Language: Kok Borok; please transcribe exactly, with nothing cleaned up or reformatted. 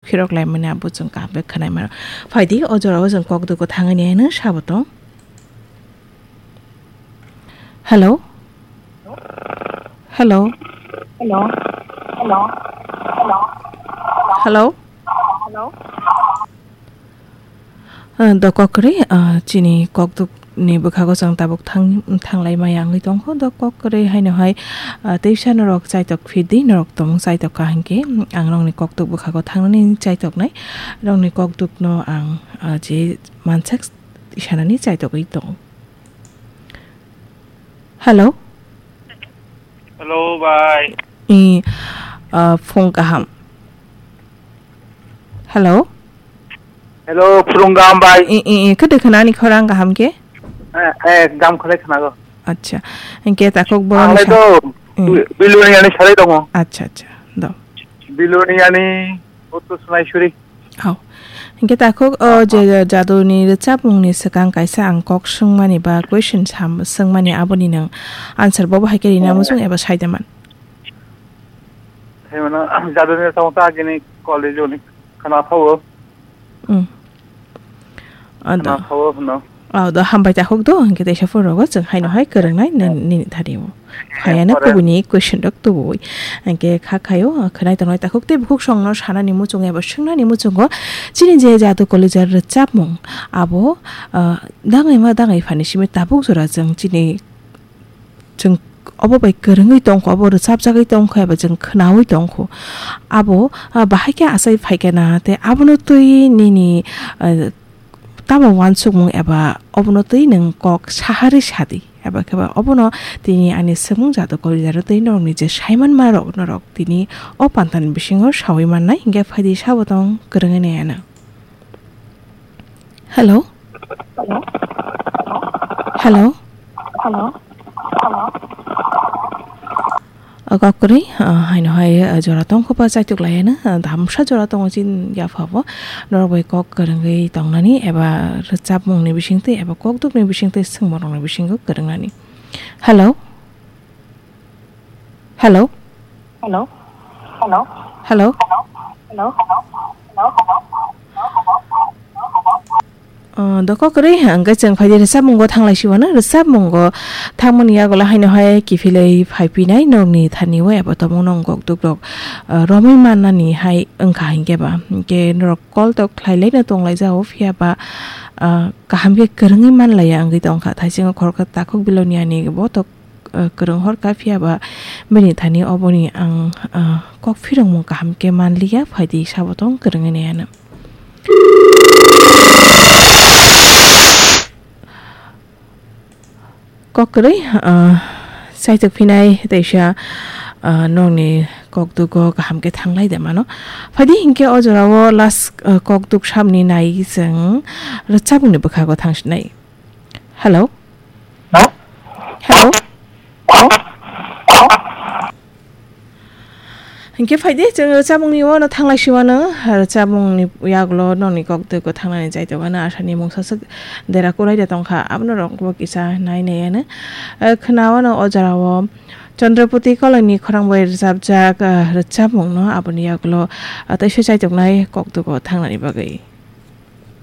khirok laimani abo chwng kaham khe khwnai mano. Phaidi o jorao chwng kok dugo thangani hino sabo tong. Hello? Hello? Hello? Hello? Hello? Hello? Hello? Ah, dokokrwi, ah, chini kokduk ni bwkhago chwng tabuk thang-, thanglai maya wngwi tongkho. Dokokrwi haino hai, ah, teisa norok chaitok phidi, norok tongmung chaitok kha hinkhe, ang norokni kokduk bwkhago thangnani chaitoknai. Norokni kokdukno ang, ah, je mansak sanani chaitogwi tongo. Hello? Hello, bai. I, ah, phung kaham. Hello? Hello, phung kaham, bai. I, i, i, kede khana ani khorang kaham ke? Eh, eh, ekdam khore khana go. Acha. Engke takok boron. Ang le sa-, to, eh. Bi-, Biloni ani sarai tongo. Acha, acha. Do. Biloni ani boto sunai suri. Hao. Hinkhe takhuk, o je jaduni rwchapmungni swkang kaisa ang kok swngmani ba question sam-, swngmani aboni nwng answer bobo hai khe rina muchung eba saida man? Thai mano, jaduni rwchapmung ta agini college-oni khana thawo. Hmm. Ado. Khana thawo hwno. Oh, do hambai takhuk do, hinkhe teisa phone rogo chwng haino hai kwrwngnai nini, nini thani o. Phaiya no kubuni question rok tubui. Hinkhe kha khaio, khwnai tongnai takhuk tei bukhuk songno sanani muchungo eba swngnani muchungo chini je jadu kolijar rwchapmung abo, ah, dangai ma dangai phani simi tabuk jora chwng chini chwng obo bai kwrwngwi tongkho, obo rwchapjagwi tongkho eba chwng khwnaui tongkho. Abo, ah, bahai khe achai phaikha na tei abono twi nini, ah, tamo uansukmung eba obono twi nwng kok saharwi sadi. Eba khe ba obono tini ani swngmung jadu kolijarwi twi norokni je saimanmarok norok tini o pantani bisingo saui mannai, hinkhe phaidi sabo tong kwrwngwi nai ano. Hello? Hello? Hello? O kok kwrwi, ah, haino hai, ah, jora tongkho ba chaituk laiano, ah, damsa jora tongo chini yaphabo. Norok bai kok kwrwngwi tongnani eba rwchapmungni bisingtwi eba kokdukni bisingtwi swngmorokni bisingo kwrwngnani. Hello? Hello? Hello? Hello? Hello? Hello? Ah, doko kwrwi, hwnkhe chwng phaidi rwchapmungo thanglai siwano, rwchapmungo thangmani yagulo haino hai kiphilwi phaipinai norokni thani o eba tongmung nong kokduk rok, ah, romwi mannani hai wngkha hinkhe ba. Hinkhe norok call tok khlai laino tonglaijao, phiya ba, ah, kaham khe kwrwngwi manlaiya wngwi tongkha. Thaisingo khoroksa takhuk Biloniani bo tok, ah, kwrwng hor kha, phiya ba bini thani oboni ang, ah, kok phirongmung kaham khe manliya, phaidi sabo tong kwrwngwi nai ano. Kok kwrwi, ah, chaitok phinai teisa, ah, nokni kokdugo kaham khe thanglai de mano. Phaidi hinkhe o jorao last, ah, kokduk samni nai chwng rwchapmungni bwkhago thangsinai. Hello? Hello? Hello? Hinkhe phaidi, chwng rwchapmungni uano thanglai siwano, rwchapmungni yagulo nokni kok twi kwthangnani chaitokgano asani mungsa swk dera kwlai de tongkha, abono rokbo kisa nai nai ano. Eh, khwnawano o jorao Chandrapati Koloini khorang bai rwchapjak, eh, rwchapmungno aboni yagulo, ah, teisa chaitoknai kok twi kwthangnani bagwi.